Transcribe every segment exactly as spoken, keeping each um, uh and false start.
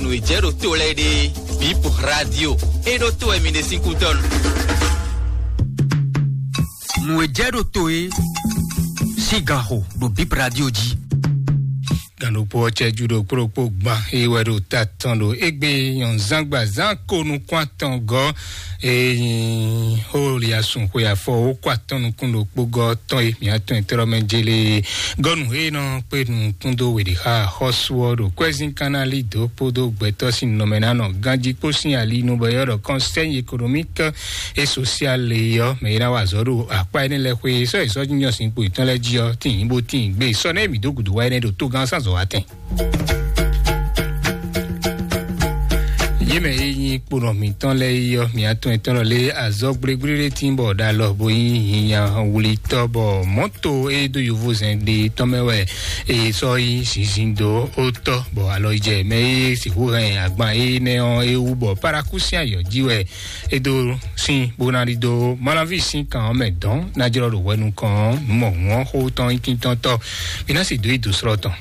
Nǔ e jɛ ɖo to lɛ́ɛ ɖe, Bip Radio. É ɖó to wɛ mi ɖe sín kútɔ́ nu. Nǔ e jɛ ɖo to é sín ganxo ɖo Bip Radio jí. Gǎnɖokpó ɔ́ cɛ́jú ɖo kplɔ́kpó gban é wɛ ɖo ta tɔn ɖo égbé nyɔ̌nzángba zán ko nukún atɔn gɔ́. Eyin Holiasun xwe afɔ wó kɔ atɔ́n nukún ɖokpó gɔ́ tɔn e mǐ atɔn e tlɔ́ mɛ jélé gɔ́ nǔ e nɔ kpé nukún dó we ɖě xá xɔ́sú ɔ́ ɖo kwɛ́zín kanálí dó kpódó gbɛtɔ́ sín nɔmɛ ná nɔ ganjí kpó sín ali nú bɔ é ɔ́ ɖɔ Conseil économique et social ɔ́ mɛ e ná wa azɔ̌ ɖo akpá énɛ́ lɛ́ɛ xwé sɔ́ è sɔ́ nyɔ sín kpo yětɔn lɛ́ɛ jí ɔ́, tíin bó tíin gbé sɔ́ nɛ́ mǐ dó gǔdo wá énɛ́ ɖo tógán sázɔ́ wá tɛn. Yě mɛ e nyí kponɔ mǐtɔn lɛ́ɛ yi ɔ́, mǐ atɔn etɔn lɔ lé azɔ̌ gblégblé ɖé tín bɔ ɖo alɔ bó nyí hinya wlitɔ́ bɔ mɔ̌to e dó yovózɛn ɖe tɔn mɛ wɛ e sɔ́ yí zinzin dó ó tɔ́ bɔ alɔ jɛ mɛ e sixú hɛn agban énɛ́ ɔ́ é wú bɔ Parakúsian yɔ̌ jí wɛ é dó sín bó ná ɖidó Malaví sín kan ɔ́ mɛ dɔn ná jlɔ́ ɖo hwɛ nukɔn ɔ́, nǔ mɔ̌hun ɔ́ xó tɔn nyí tíntɔ́ntɔ́. Mi ná sì dó yi dǒ slɔ́ tɔn.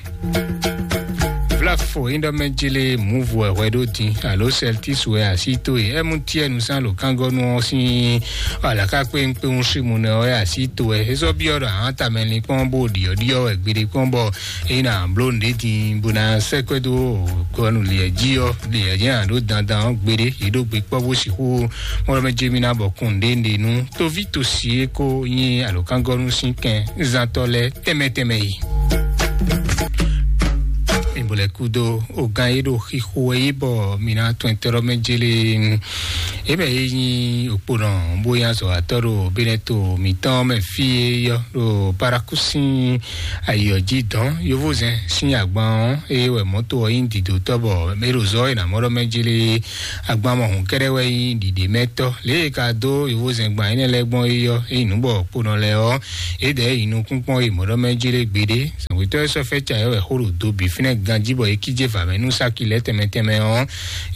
Vlafo nyí ɖɔ mɛ jélé Mouv wɛ hwɛ ɖó din alo Celtics wɛ así towe. M T N sán lo kangɔnu ɔ́ sín alaka kpéŋkpéŋ símu nɛ ɔ́ wɛ así towe. É sɔ́ byɔ́ ɖɔ ahán tamɛ linkpɔ́n bó ɖiɔ̌ɖiɔ́ wɛ gbeɖé kpɔ́n bɔ é ná bló nǔɖé din bó ná sɛ́ kwɛ́ dó gɔnu liɛ jí ɔ́, liɛ jí ná ɖó dandan ɔ́ gbeɖé. Yě ɖó gbe kpɔ́ bó sixú mɔɖɔ mɛ jémí ná bɔ kun nǔɖé nǔɖé nú tóví tosi e ko nyí alokangɔnu sín kɛn zantɔ lɛ́ɛ tɛnmɛ tɛnmɛ yi. Mǐ bo lɛ́ kúdó ogán e ɖo xixo wɛ yí bɔ mǐ ná tɔn tɛ́rɔ mɛ jélé. Ebe e nyí òkponɔ bóyá zɔ atɔ ɖo Benɛto mǐtɔn mɛ fí e yɔ ɖo Paraku sín ayǐ ɔ́ jí dɔn yovózɛn sín agban ɔ́, eye wɛ mɔ̌to ɔ́ nyí dǐdótɔ́ bɔ mɛ ɖo zɔ e nǎ mɔ ɖɔ mɛ jélé agban mɔhun kɛ́ɖɛ́ wɛ nyí ɖiɖěmɛtɔ́. Lě e ka dó yovózɛngban énɛ́ lɛ́ɛ gbɔn é yɔ é nyí nǔ bɔ kponɔ lɛ́ɛ ɔ́, é ɖɛ̌ yi nukúnkpɔ́n yi mɔ̌ ɖɔ mɛ jélé gbeɖé. Zǎngbetɔ́ e sɔ́ fɛ́ ca é wɛ xó ɖo do bǐ fínɛ́ ganjí bɔ é kíjé vǎ mɛ nú sáki lɛ́ɛ tɛnmɛ tɛnmɛ ɔ́,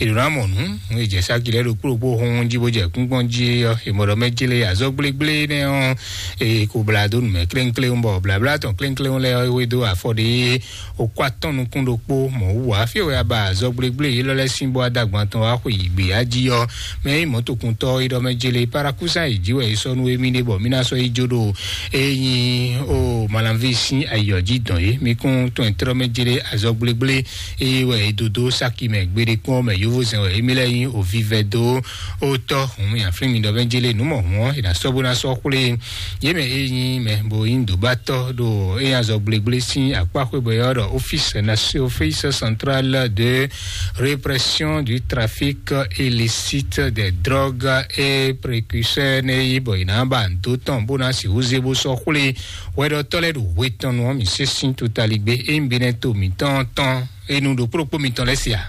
è ɖǒ ná mɔ nǔ. Nú è jɛ sáki lɛ́ɛ ɖo kpló bó hɔn jí bó jɛ kúnkpɔ́n jí ɔ́, è mɔ ɖɔ mɛ jélé azɔ́ gblégblé nɛ́ ɔ́, è ko blá dó nǔ mɛ kléŋkléŋ bɔ blǎblá tɔn kléŋkléŋ lɛ́ɛ ɔ́, é wé dó afɔ ɖé okó atɔ́n nukún ɖokpó mɔ̌ wú ǎ. Fí e wɛ a ba azɔ̌ gblégblé élɔ́ lɛ́ɛ sín bó wá dó agban tɔn wá xwe yi gbě á jí ɔ́, mɛ e nyí mɔ̌tokuntɔ́ é ɖɔ mɛ jélé Parakusa yi jǐ wɛ é sɔ́ nú émí ɖé bɔ mí ná sɔ́ yi jó ɖo é nyí o Malanví sín ayǐ ɔ́ jí dɔn é. Mi kún tɔn tlɔ́ mɛ jélé azɔ̌ gblégblé é wɛ é dó dó sáki mɛ gbeɖé kpɔ́n mɛ yovózɛn wɛ émí lɛ́ɛ nyí o vivɛ dó ó tɔ́ hǔn mì aflín mi ɖɔ mɛ jélé nǔ mɔ hǔn ɔ́, è nǎ sɔ́ bó ná sɔ́ xwlé yě mɛ e nyí mɛ bo nyí dǒbatɔ́ ɖo é azɔ gblégblé sín akpá xwé bɔ é ɔ́ ɖɔ Office Nation, Office Central de Répression du Trafic Illicite des Drogues et Précurseurs nɛ́ yí bɔ è nǎ ba dó tɔn bó ná sixú zé bó sɔ́ xwlé hwɛɖɔtɔ́ lɛ́ɛ ɖo hwe tɔn nu ɔ́, mǐ sé sín totaligbé é nyí Benɛto mǐtɔn tɔn e nu ɖo kplɔ́kpó mitɔn lɛ́ɛ se a?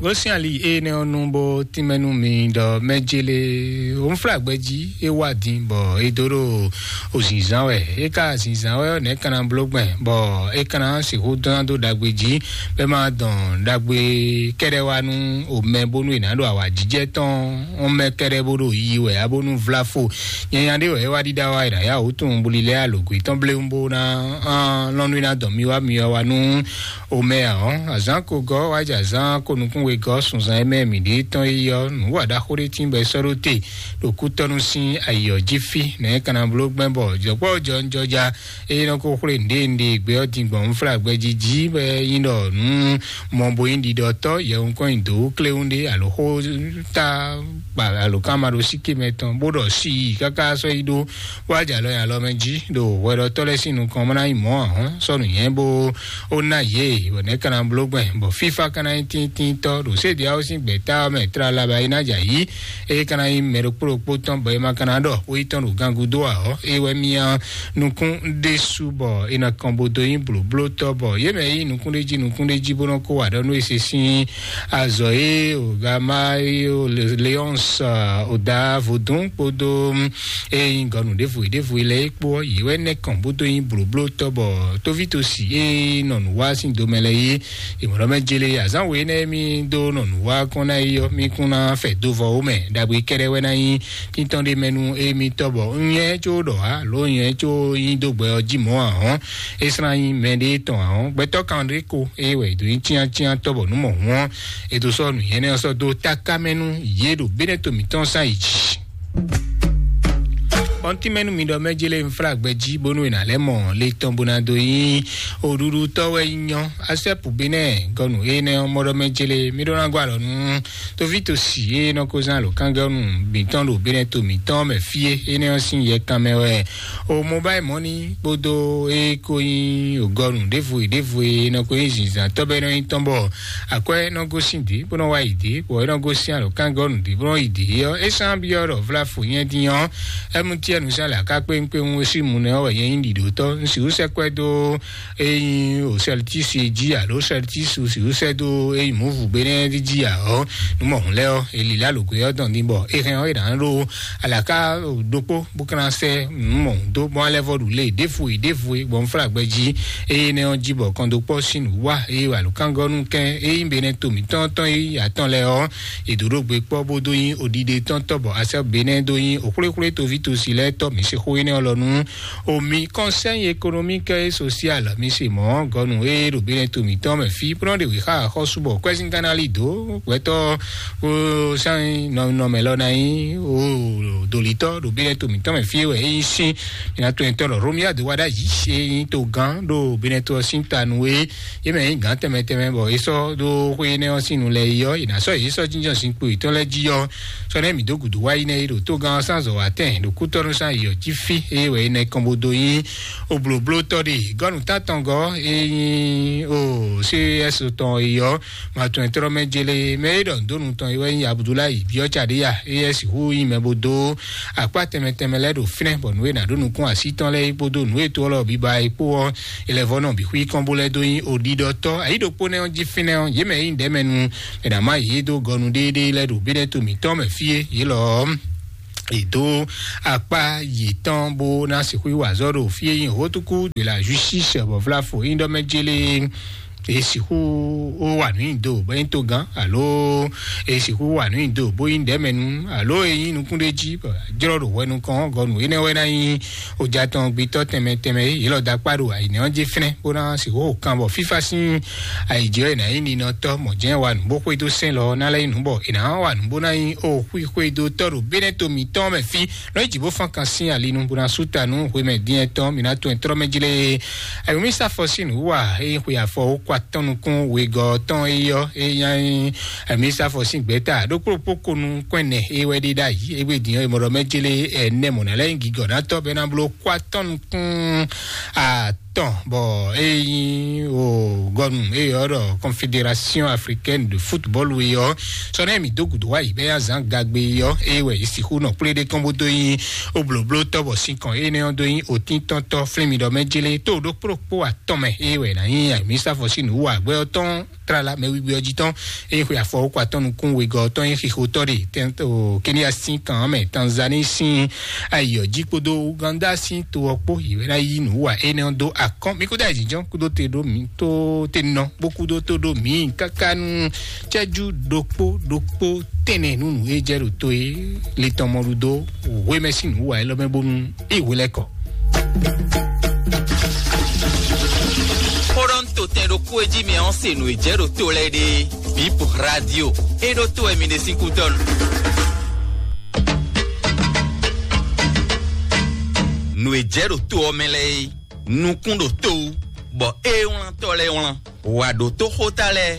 Gosín ali énɛ́ ɔ́ nu bó tínmɛ nú mi ɖɔ mɛ jélé òun flá gbɛ jí é wá din bɔ é dó ɖo òzǐnzán wɛ. É ka zǐnzán wɛ ɔ́, nɛ̌ ka ná bló gbɛn bɔ é ka ná sixú dɔn dó ɖagbe jí bɔ é ma dɔn ɖagbe kɛ́ɖɛ́ wá nú òmɛ bónú è nǎ ɖo awǎjijɛ tɔn ɔ́ mɛ kɛ́ɖɛ́ bó ɖo yiyi wɛ á bónú vlá fo. Nyanya ɖé wɛ é wá ɖíɖá wá è nǎ yá wǔ tunwun buli lɛ́ɛ alǒgbe tɔn bléwún bó ná lɔn nú é ná dɔn mi wá mi wá wá nú omɛ ǎ ɔ́, azǎn ko gɔ́ wá jɛ azǎn ko nukún wegɔ́ sunzan e mɛ mǐ ɖe tɔn yi ɔ́, nǔ wa ɖaxó ɖé tín bɔ é sɔ́ ɖó te ɖo kútɔ́nú sín ayǐ ɔ́ jí fí, nɛ̌ é ka ná bló gbɛn bɔ jɔ̌kpɔ́ jɔnjɔja e nɔ ko xwlé nǔɖé nǔɖé gbé ɔ́ din gbɔn unflágbɛ́ jí jí bɔ é nyí ɖɔ nǔ mɔ bo nyí ɖiɖɔtɔ́ yɛhun kɔn nyi dǒ kléwún ɖé alo xó tá alo kán ma ɖo síké mɛ tɔn bó ɖɔ sí yi káká sɔ́ yi ɖó wá jɛ alɔ nyi alɔ mɛ jí ɖo hwɛɖɔtɔ́ lɛ́ɛ sín nukɔn má ná nyí mɔ̌ ǎ hɔn sɔ́ nǔ nyɛ bó ó ná yě bɔ nɛ̌ ka ná bló gbɛn bɔ fífá ka ná nyí tíntíntɔ́ ɖo sédě awo sín gbɛ̌ta ɔ́ mɛ tlala ba é ná jɛ ayǐ eye ka ná nyí mɛ ɖokpó ɖokpó tɔn bɔ é ma ka ná ɖɔ xó yi tɔn ɖo gangudó ǎ ɔ́ é wɛ myá nukún ɖésú bɔ è nɔ kɔn bo dó nyí blǒblótɔ́ bɔ yě mɛ e nyí nukún ɖé jí nukún ɖé jí bó nɔ kó wa ɖɔ nú è se sín azɔ e o gama e o léonce o da vodún kpódó e nyí gɔnu ɖěvo ɖěvo lɛ é kpó ɔ́ yě wɛ nɛ́ kɔn bó dó nyí blǒblótɔ́ bɔ tóvítosi e nɔ nǔ wá sín dó mɛ lɛ́ɛ yí. Ìmọ̀lọ́mɛ jele azán wěnɛ́ mi dó nɔ nǔ wá kɔn ná yi ɔ́, mi kún ná fɛ dó vɔ wó mɛ. Ɖagbe kɛ́ɖɛ́ wɛ ná nyí títɔn ɖé mɛ nú émítɔn bɔ un nyɛ có ɖɔ ǎ, lǒ nyɛ có nyí dó gbɛ ɔ́ jí mɔ̌ ǎ hɔ́n. É slán nyí mɛ ɖé tɔn ǎ hɔ́n. Gbɛtɔ́ kan ɖé ko é wɛ è dǒ nyí cyáncyán tɔ́ bɔ nǔ mɔ hǔn ɔ́, è dǒ sɔ́ nǔ nyɛ nɛ́ ɔ́ sɔ́ dó táká mɛ nú yě ɖo bénɛ́ to mǐtɔn sán yi jǐ. Pɔntí mɛ nú mi ɖɔ mɛ jele un flá gbɛ jí bónú è nǎ lɛ́ mɔ le tɔn bó ná dó nyí òɖuɖutɔ́ wɛ nyɔ. Asɛ́pù bénɛ́ gɔnu énɛ́ ɔ́ mɔ ɖɔ mɛ jele mi ɖó ná gɔ́ alɔ nú tovítòsì e nɔ ko zán alǒkángɛ́nu mǐtɔn ɖo bénɛ́ to mǐtɔn mɛ fí é. Énɛ́ ɔ́ sín yɛkan mɛ wɛ o mobile money kpódó e ko nyí ògɔnu ɖěvo e ɖěvo e nɔ ko nyí zǐnzǎntɔ́ bɔ é nɔ nyí tɔn bɔ akwɛ́ nɔ gosín dě bó nɔ wá yi dě, bɔ é nɔ gosín alǒkángɔ́nu dě bó nɔ yi dě ɔ́, é sán byɔ́ ɖɔ vlafo nyɛ dín ɔ́, MTN sán lě aká kpéwúnkpéwún é sí mu nɛ́ ɔ́ wɛ nyɛ nyí ɖiɖǒtɔ́. Un sixú sɛ́ kwɛ́ dó e nyí o sɛltísi jí alo sɛltísi sixú sɛ́ dó e nyí mǔvù gbe nɛ́ jí ǎ ɔ́, nǔ mɔ̌hun lɛ́ɛ ɔ́, è lǐlá lǒ gbé ɔ́ dɔn din bɔ é hɛn ɔ́, è nǎ ɖó alaka ɖokpó bó ka ná sɛ́ nǔ mɔ̌hun dó bɔ alɛ vɔ ɖu lé ɖěvo e ɖěvo e gbɔn fla gbɛ jí. Eye nɛ ɔ́ jí bɔ kɔndokpɔ sín nǔ wa eye alukangɔnu kɛn e nyí benɛ to mǐtɔn tɔn e atɔn lɛ ɔ́, è dǒ ɖó gbe kpɔ́ bó dó nyí oɖiɖe tɔn tɔ́ bɔ asɛ benɛ dó nyí oxwléxwlé toví tosi lɛ́ɛ tɔ́ mǐ se xó énɛ́ ɔ́ lɔ nú omi kɔnsɛ́nyi ekonomike e sosial mi se mɔ̌ gɔnu e ɖo benɛ to mǐtɔn mɛ fí bó nɔ ɖe wǐ xá axɔ́sú bɔ kwɛ́zíngán ná lí dǒ gbɛtɔ́ ó sán nɔnɔmɛ lɔ ná nyí ó dolítɔ́ ɖo benɛ to mǐtɔn mɛ fí e wɛ é nyí sín. Mǐ ná to nyitɔ́ ɖɔ Romia do wá ɖ'ayǐ e nyí togán ɖo benɛ to ɔ́ sín ta nú é. Yě mɛ nyí gǎn tɛnmɛ tɛnmɛ bɔ é sɔ́ ɖó xwé énɛ́ ɔ́ sín nu lɛ́ɛ yi ɔ́, è nǎ sɔ́ yě sɔ́ jínjɔ́n zinkpo yětɔn lɛ́ɛ jí ɔ́, sɔ́ nɛ́ mǐ dó gǔdo wá yi nɛ́ é ɖo tógán ɔ́ sán zɔ wá tɛn ɖo kútɔ́nú sán yi ɔ́ jí fí é wɛ é nɛ kɔn bó dó nyí oblǒblótɔ́ ɖe gɔ́nu tántɔn gɔ́ é nyí o C S tɔn é ɔ́, ma tɔn ɛ tlɔ́ mɛ jele mɛ é ɖɔ nǔdónú tɔn é wɛ nyí Abudulayi Biɔ́caɖéya é yɛ sixú nyí mɛ bó dó akpá tɛnmɛ tɛnmɛ lɛ́ɛ ɖo fínɛ́ bɔ nǔ e nǎ ɖó nukún así tɔn lɛ́ɛ é kpódó nǔ e to ɔ́ lɔ biba é kpó ɔ́, è lɛ́ vɔ́ nɔ bǐ xwí kɔn bó lɛ́ dó nyí oɖiɖɔtɔ́. Ayǐɖokpónɛ́ ɔ́ jí fínɛ́ ɔ́, yě mɛ e nyí ɖɛ̌mɛnu è nǎ má yě dó gɔnu ɖéeɖée lɛ́ɛ ɖo béɖɛ́ to mǐtɔn mɛ fí é yě lɔ ɔ́, è dó akpá yětɔn bó ná sixú yi wa azɔ̌ ɖo fí e nyí Hotuku de la Justice bɔ vlafo nyí ɖɔ mɛ jélé e sixú ó wa nǔ nyi do bɔ é nyí togán alo e sixú wa nǔ nyi do bó nyí ɖɛ̌mɛnu alo e nyí nukúnɖéjí bɔ jlɔ́ ɖo hwɛ nukɔn gɔnu énɛ́ wɛ ná nyí oja tɔn gbitɔ́ tɛnmɛ tɛnmɛ e yě lɔ da kpá ɖo ayǐnɛ́ ɔ́ jí fínɛ́ bó ná sixú xo kan bɔ fífá sín ayǐjɛ ɔ́ è nǎ nyí ninɔtɔ́ mɔ̌ jɛ́n wa nǔ bó xwedó sɛ́n lɔ ná lɛ́ nyí nǔ bɔ è nǎ wa nǔ bó ná nyí o xwixwedótɔ́ ɖo bénɛ́ to mǐtɔn mɛ fí nɔ yi jǐ bó fán kan sín ali nu bó ná sú ta nú hwemɛ dín tɔn mǐ ná tɔn trɔ́ mɛ jlé. Ayɔmísafɔ sín nǔ wa eye xwe afɔ ó kó atɔ́n nukún wegɔ́ tɔn eyɔ eye nyá nyí ayɔmísafɔ sín gbɛ́ta ɖokpóɖokpó konu kɔn ɛnɛ eye wɛ ɖe ɖ'ayǐ égbé dín ɔ́ emɔɖɔ mɛ jlé ɛnɛ mɔ̌ ná lɛ́ nyí gǐgɔ̌nátɔ́ bɛ́ ná bló kó atɔ́n nukún atɔn bɔ eyi o gɔnu eyi ɔ́ ɖɔ Confédération Africaine de Football wi ɔ́ sɔ nɛ mi dó gǔdo wá yi bɛ ya zan gagbe yi ɔ́ eye wɛ yi sixú nɔ kplé ɖé kɔn bó dó yi o blóbló tɔ bɔ sin kɔn eye nɛ ɔ́ dó yi o tíntɔn tɔ flin mi ɖɔ mɛ jele tó ɖó kpló kpó atɔn mɛ eye wɛ na yi mi sáfɔ sí nǔ wá gbɛ ɔ́ tɔn trala mɛ wíwí ɔ́ jí tɔn eye xwe afɔ wókɔ atɔn nukún wegɔ tɔn eye xixo tɔ ɖe tɛn o Kenya sín kan mɛ Tanzanie sín ayɔ jí kpódó Uganda sín to ɔ́ kpó yi wɛ ná yí nǔ wa énɛ́ ɔ́ dó akɔn mi kúdó ayǐjínjɔ́n kúdó te ɖó mi tó te nɔ bó kúdó tó ɖó mi káká nú cɛ́jú ɖokpó ɖokpó tɛnɛ nú nǔ e jɛ ɖo to e le tɔn mɔ ɖu dó wémɛ sín nǔ wa élɔ́ mɛ bónú é hwe lɛ́ kɔ. Xó ɖɔ ń to tɛn ɖokpó e jí mi ɔ́ se nǔ e jɛ ɖo to lɛ́ɛ ɖe. Bip Radio. É ɖó to wɛ mi ɖe sín kútɔ́ nu. Nǔ e jɛ ɖo to ɔ́ mɛ lɛ́ɛ é, nukún ɖo to wú, bɔ é wlán tɔ lɛ́ɛ wlán. Wǎ ɖó tó xóta lɛ́ɛ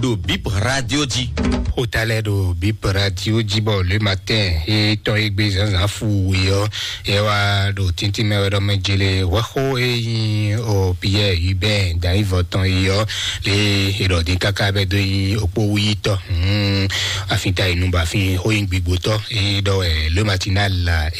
ɖo Bip Radio jí. Xóta lɛ́ɛ ɖo Bip Radio jí bɔ le matin e tɔn e gbé zǎnzǎn fu we ɔ́, é wá ɖo tíntín mɛ wɛ ɖɔ mɛ jele hwɛxó e nyí o Pierre Hubert Daivɔ tɔn yi ɔ́, le e ɖɔ dín káká bɛ dó nyí okpó wúyítɔ́. Hmm, afin ta yi nu bɔ afin xó nyí gbigbotɔ́ e ɖɔ wɛ le matinal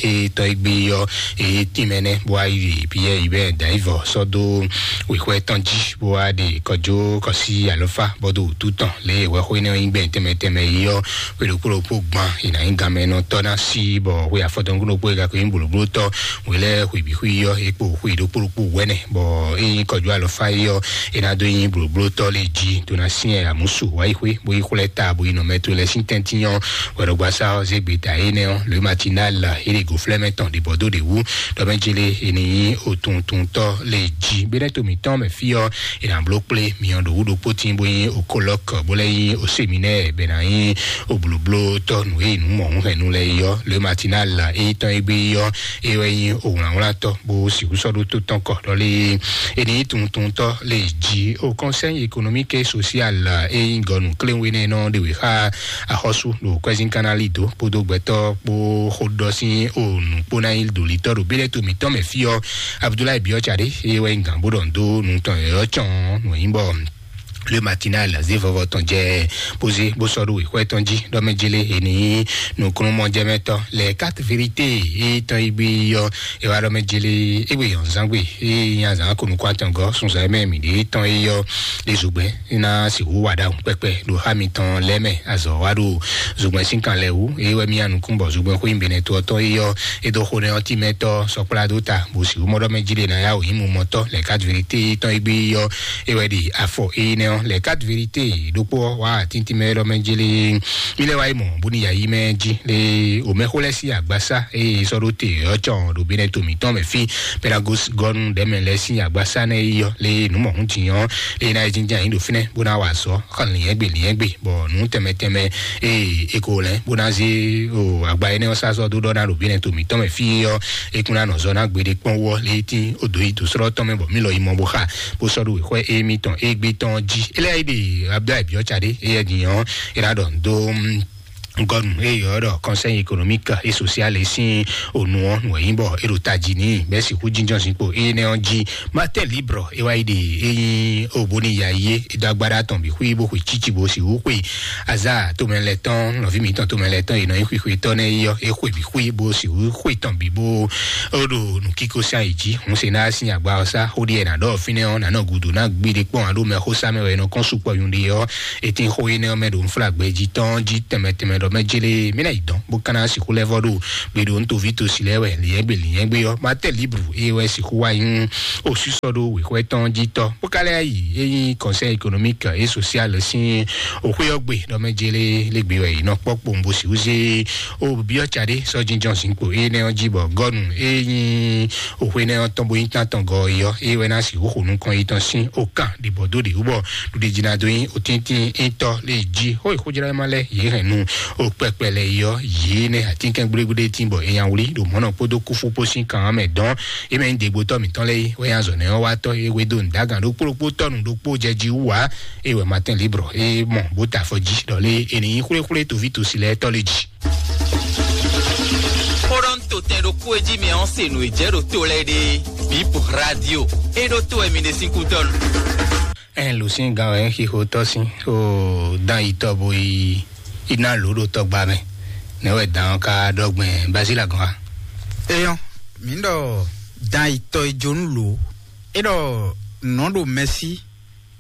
e tɔn e gbé ɔ́ e tínmɛ nɛ́ bó wá yi Pierre Hubert Daivɔ sɔ́ dó wěxwɛ́ tɔn jí bó wá ɖe kɔjó kɔsí alɔfá bɔ dó wútu tɔn le e hwɛxó énɛ́ ɔ́ nyí gbɛn tɛnmɛ tɛnmɛ. mɛ yi ɔ́, xwe ɖokpó ɖokpó gban, è nǎ nyí ganmɛnɔtɔ́ ná sí, bɔ xwe afɔtɔn kún ɖokpó e ka ko nyí blǒblótɔ́, xwe lɛ́ɛ xwe bǐ xwe yi ɔ́, é kpo xwe ɖokpó ɖokpó wɛnɛ, bɔ é nyí kɔjú alɔfá yi ɔ́, é ná dó nyí blǒblótɔ́ lé jí, tó ná syɛ́n amǔsu wá yi xwé, bó yi xwlɛ́ ta, bó yi nɔ mɛ towe lɛ́ɛ sín tɛ́ntin ɔ́, hwɛɖɔgbasá ɔ́ zé gbeta énɛ́ ɔ́, Le Matinal, é ɖe go flɛ́ mɛ tɔn ɖě bɔ dó ɖě wú, ɖɔ mɛ jélé è nǐ nyí otuntuntɔ́ lé jí. Bɛ́nɛ́ to mǐtɔn mɛ fí ɔ́, è nǎ bló kplé myɔ ɖo wú ɖokpó tín bó nyí okolɔ́k, bó lɛ́ nyí oseminɛ́ɛ, bɛ ná nyí oblǒblótɔ́ nǔ e nǔ mɔ̌hunhɛnnu lɛ́ɛ yi ɔ́, Le Matinal, é tɔn é gbé yi ɔ́, é wɛ nyí owlǎnwlátɔ́, bó sixú sɔ́ ɖó tó tɔn kɔ ɖɔ lé. È nǐ nyí tuntuntɔ́ lé jí o Conseil économique et social, é nyí gɔnu kléwénɛnɔ ɖe wě xá axɔ́sú ɖo kwɛ́zínkánná lí dó kpódó gbɛtɔ́ kpó xóɖɔ sín o nǔ kpó ná nyí ɖo litɔ́ ɖo bílɛ́ to mǐtɔn mɛ fí ɔ́. Abudulayi Biɔ́ca ɖé, é wɛ nyí gǎn bó ɖɔ nǔ dó nǔ tɔn yɔ̌yɔ́ cɔn nǔ nyí bɔ Le Matinal zé vɔvɔ tɔn jɛ bó zé bó sɔ́ ɖó wěxwɛ́ tɔn jí ɖɔ mɛ jélé è nǐ nǔkúnnú mɔjɛmɛtɔ́ lɛ quatre vérité é tɔn yi gbé yi ɔ́, é wá ɖɔ mɛ jélé é gbé yɔn zán gbé é nyí azǎn ko nukún atɔngɔ́ sunzan mɛ mǐ ɖě tɔn é yɔ ɖé zogbɛ́n ná sixú wa ɖahun kpɛkpɛ ɖo xá mitɔn lɛ́ɛ mɛ azɔ̌ wa ɖo zogbɛ́n sín kan lɛ́ɛ wú é wɛ mí anukún bɔ zogbɛ́n xwé nyí benɛ to ɔ́ tɔn é yɔ é dó xó nɛ ɔ́ tí mɛ tɔ́ sɔkplá dó ta bó sixú mɔ ɖɔ mɛ jí ɖé ná yá wò nyí mumɔtɔ́ lɛ quatre vérité tɔn é gbé yɔ é wɛ ɖi afɔ énɛ́ ɔ́ lɛ quatre vérité ɖokpó ɔ́ wá tíntín mɛ ɖɔ mɛ jélé mí lɛ́ wá yi mɔ bóni yayí mɛ jí lé omɛxó lɛ́ sín agbasá eye sɔ́ ɖó te ɔ́ cɔn ɖo bínɛ to mǐtɔn mɛ fí pɛdagos gɔnu ɖɛmɛ lɛ́ sín agbasá nɛ yi yɔ lé nǔmɔ̀hún jǐnyɔ́ lé ná yi jínjɛ́n ayǐ ɖo fínɛ́ bó ná wa azɔ̌ xɔ lǐnyɛ́gbe lǐnyɛ́gbe bɔ nǔ tɛnmɛ tɛnmɛ eye è ko lɛ́ bó ná zé o agba énɛ́ ɔ́ sá sɔ́ dó ɖɔ ná ɖo bínɛ to mǐtɔn mɛ fí ɔ́ é kún ná nɔ zɔ ná gbeɖé kpɔ́n wú ɔ́ lé tín o dǒ yi dǒ sɔ́ tɔn mɛ bɔ mí lɔ yi mɔ bó xa bó sɔ́ ɖo wěxwɛ́ émítɔn égbé tɔn jí. Éyɛ́ é ɖe Abdulayi Biɔ́ca ɖé, éyɛ́ din ɔ́, é ná ɖɔ dó gɔnu eye ɔ́ ɖɔ Conseil économique et social sín onu ɔ́ nǔ wɛ nyí bɔ é ɖo tají n'i bɛ́ sixú jínjɔ́n zinkpo énɛ́ ɔ́ jí. Matin Libre é wá yi ɖe é nyí o bóni ya yé é dó agbára tɔn bǐ xwí bó xwe cíci bó sixú xwe azá tomɛ lɛ tɔn nɔví mǐtɔn tomɛ lɛ tɔn è nɔ nyí xwixwetɔ́ nɛ́ é yɔ é xwe bǐ xwí bó sixú xwe tɔn bǐ bó ó ɖo nǔkíkó sín ayǐ jí. Hǔn se ná sín agba ɔ́ sá xó ɖíe nǎ ɖɔ fínɛ́ ɔ́ nǎ nɔ gǔdo ná gbí ɖé kpɔ́n alo mɛ xó sá mɛ wɛ è nɔ kɔn sukpɔ nyuɖe ɔ́. Etɛ́n xó énɛ́ ɔ́ mɛ ɖo nflágbɛ jí tɔn jí tɛnmɛ tɛnmɛ ɖɔ mɛ jélé mí ná yi dɔn bó ka ná sixú lɛ́ vɔ ɖo gbeɖo ntoví tosi lɛ́ɛ wɛ lǐnyɛ́gbe lǐnyɛ́gbe ɔ́. Matɛ́ Libre é wɛ sixú wá nyí osísɔ ɖó wěxwɛ́ tɔn jí tɔ́ bó ka lɛ́ yi é nyí Conseil économique et social sín òxwé ɔ́ gbe ɖɔ mɛ jélé lé gbe wɛ è nɔ kpɔ́ kpowun bó sixú zé o byɔ́ tsa ɖé sɔ́ jínjɔ́n zinkpo énɛ́ ɔ́ jí bɔ gɔ́nu é nyí òxwé nɛ́ ɔ́ tɔn bó nyí tán tɔn gɔ é ɔ́ é wɛ ná sixú xo nukɔn yi tɔn sín o kan ɖibɔ dó ɖě wú bɔ ɖuɖi jí ná dó nyí o tíntín étɔ́ lé jí xó e xójlá ma lɛ́ yě hɛn nu o kpɛkpɛ lɛ yi ɔ́ yě nɛ atínkɛn gblégblétín bɔ é nya wlí ɖo mɔ̌ nɔ kpódó kúfú kpó sín kan ɔ́ mɛ dɔn é mɛ nyí degbotɔ́ mǐtɔn lɛ́ɛ yi wɛ nya zɔ nɛ́ ɔ́ wá tɔ́ é hwe dó nǔdágan ɖokpó ɖokpó tɔ́nu ɖokpó jɛ jí wú wá é wɛ Matin Libre é mɔ bó ta afɔ jí ɖɔ lé é ní nyí xwléxwlé toví tosi lɛ́ɛ tɔ́ lé jí. Xó ɖɔ ń to tɛn ɖokpó e jí mi ɔ́ se nǔ e jɛ ɖo to lɛ́ɛ ɖe. Bip radio. É ɖó to wɛ mi ɖe sín kú tɔnu. Ɛn lǒ sín gán wɛ ń xixo tɔ́ sín o dán yi tɔ́ bo yi iná lǒ ɖo tɔgba mɛ. Nɛ̌ wɛ dán ɔ́ ka ɖɔgbɛn Bazila gɔn wa? Eyɔn, mǐ ɖɔ dan yi tɔ yi jó nú lǒ. É ɖɔ nǔ ɔ́ ɖo mɛsí,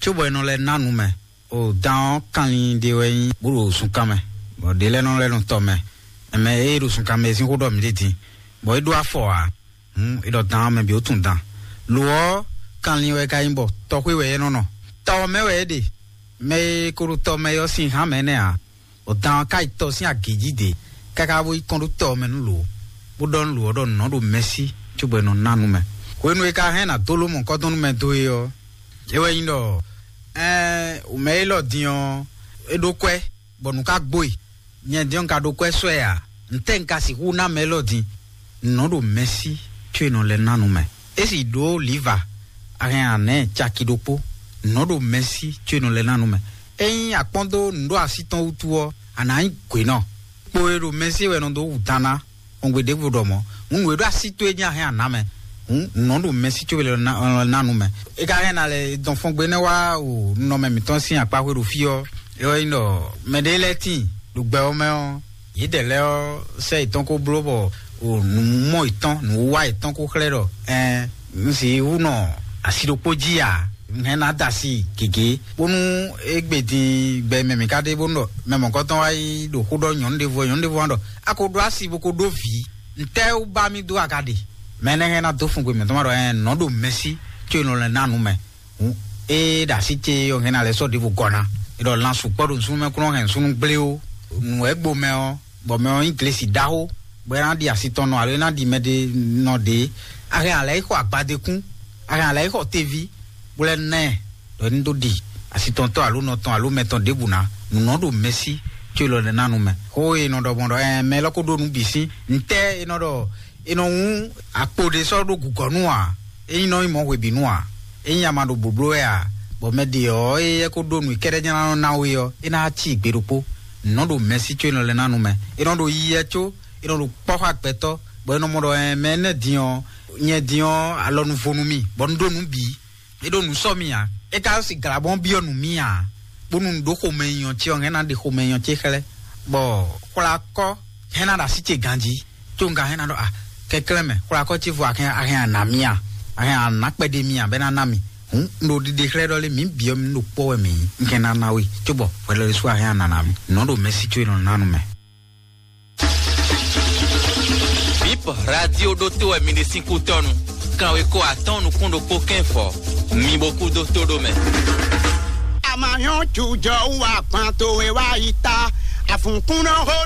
cóbɔ è nɔ lɛ́ ná nǔ mɛ. O dan ɔ́ kanlin ɖé wɛ nyí bó ɖo zunkan mɛ, bɔ ɖě lɛ́ɛ nɔ lɛ́ nɔ tɔ mɛ. Ɛmɛ é ɖo zunkan mɛ é sín xó ɖɔ mǐ ɖe din, bɔ é ɖó afɔ ǎ. Hǔn é ɖɔ dan ɔ́ mɛ bǐ ó tunwun dan. Lo ɔ́, kanlin wɛ ka nyí bɔ tɔxwé wɛ é nɔ nɔ. Tɔ ɔ́ mɛ wɛ é ɖe. Mɛ e ko ɖo tɔ mɛ é ɔ́ sin hán mɛ énɛ́ ǎ. Bɔ dan ɔ́ ka yi tɔ sín agě jí dě, káká bó yi kɔn ɖó tɔ ɔ́ mɛ nú lo, bó ɖɔ nú lo ɔ́ ɖɔ nǔ nɔ ɖo mɛsí cóbɔ è nɔ ná nú mɛ. Hwenu e ka hɛn ná dó ló mɔ̌kɔ́dɔn nú mɛ dó é ɔ́, é wɛ nyí ɖɔ ɛɛ mɛ élɔ́ din ɔ́, é ɖó kwɛ́, bɔ nǔ ka gbo e. Nyɛ din ɔ́, un ka ɖó kwɛ́ sɔ́ ɛ ǎ. Ntɛ́ un ka sixú ná mɛ élɔ́ din? Nǔ nɔ ɖo mɛsí có è nɔ lɛ́ ná nú mɛ. É sì ɖó lǐva, a hɛn anɛ̌ caki ɖokpó, nǔ nɔ ɖo mɛsí có è nɔ lɛ́ ná nú mɛ. Ényí a kpɔ́n dó nǔ ɖo así tɔn wútu ɔ́, a nǎ nyí gwěnɔ. Kpo e ɖo mɛsí wɛ nɔ dó wǔ dan ná, xɔngbe ɖěvo ɖɔ mɔ̌. Hǔn nǔ e ɖo así towe jɛ́n a hɛn a nǎ mɛ. Hǔn nǔ nɔ ɖo mɛsí có è lɛ́ ná nú mɛ. É ka hɛn na lɛ dɔn fɔngbe nɛ́ wá o nunɔmɛ mǐtɔn sín akpaxwé ɖo fí ɔ́, é wɛ nyí ɖɔ mɛɖé lɛ́ɛ tíin ɖo gbɛ ɔ́ mɛ ɔ́, yědɛɛ lɛ́ɛ ɔ́ sɛ́ yětɔn ko bló bɔ o nǔmɔ yětɔn, nǔwiwa yětɔn ko xlɛ́ ɖɔ ɛɛ un sixú nɔ asi ɖokpó jí ǎ. Hɛn ná da asi gěgé bónú égbé din gbɛ mɛ mǐ ka ɖe bónú ɖɔ mɛ mɔ̌kɔtɔn wá yi ɖo xó ɖɔ nyɔ̌nu ɖěvo, nyɔ̌nu ɖěvo wá ɖɔ a ko ɖó asi bó ko ɖó vǐ. Ntɛ́ wú bá mì dó aga ɖe? Mɛ nɛ́ hɛn ná dó fun gbe mǐtɔn ma ɖɔ ɛ nɔ ɖo mɛsí tso e nɔ lɛ ná nu mɛ. Hǔn é ɖo asi ce ɔ́ hɛn ná lɛ sɔ́ ɖěvo gɔ́ ná. É ɖɔ lan sukpɔ́ ɖo nǔsúnnú mɛ kúnɔ hɛn súnnu gblé ó. Nǔ wɛ gbo mɛ ɔ́, bɔ mɛ ɔ́ nyí glesi ɖaxó, bɔ é ná ɖi asi tɔn nɔ alo é ná ɖi mɛ ɖé nɔ ɖě. A hɛn alɛ yi xɔ agbadekún, a hɛn alɛ yi xɔ teví, bó lɛ́ ná ɛ ɖɔ é ní dó ɖi asi tɔn tɔn alo nɔ tɔn alo mɛ tɔn ɖěbǔ ná. Nǔ nɔ ɖo mɛsí tso lɔ lɛ́ ná nu mɛ. Xó e nɔ ɖɔ gbɔn ɖɔ ɛ mɛ lɔ ko ɖó nǔ bǐ sín. Ntɛ́ e nɔ ɖɔ e nɔ hún akpo ɖé sɔ́ ɖó gǔgɔ́ nú ǎ, é nyí nɔ nyí mɔ̌ hwebǐnu ǎ, é nyí ama ɖo blǒbló wɛ ǎ, bɔ mɛ ɖě ɔ́, é yɛ ko ɖó nǔ kɛ́ɖɛ́ jɛ́n ná nɔ ná we ɔ́, é ná cí gbe ɖokpó. Nǔ nɔ ɖo mɛsí có é nɔ lɛ́ ná nu mɛ. É nɔ ɖo yiyɛ có, é nɔ ɖo kpɔ́ xá gbɛtɔ́, bɔ é nɔ mɔ ɖɔ ɛ mɛ énɛ́ din ɔ́, nyɛ din ɔ́, alɔ nu vo nú mì, bɔ un ɖó nǔ bǐ. É ɖó nǔ sɔ́ mì ǎ. É ka si glabɔ́n byɔ́ nǔ mì ǎ, bónú un ɖó xomɛ nyɔ ce ɔ́, hɛn ná ɖe xomɛ nyɔ ce xlɛ́, bɔ xwlá kɔ́ hɛn ná ɖo así ce ganjí. Tó un ka hɛn ná ɖɔ a kɛnklɛ́n mɛ xwlá kɔ́ ce fo ahɛn ahɛn ana mì a, ahɛn ana kpɛɖé mì a bɛ ná ná mì. Hǔn un ɖo ɖiɖe xlɛ́ ɖɔ lé mǐ byɔ́ mì ɖo kpɔ́ wɛ mǐ nyí. Un kɛn ná ná we cóbɔ hwɛɖɔɖɛ sú ahɛn ana ná mì. Nǔ nɔ ɖo mɛsí có e nɔ ná nu mɛ. Bip radio ɖótó wɛ mi ɖe sín kútɔ́nu. Kanwekó atɔ́ɔ́n nukún ɖokpó kɛ́nfɔ. Mi bo kú dó tó ɖó mɛ. Amahɔn jujɔ wa kpan towe wa yi ta. Afunkun nɔ ho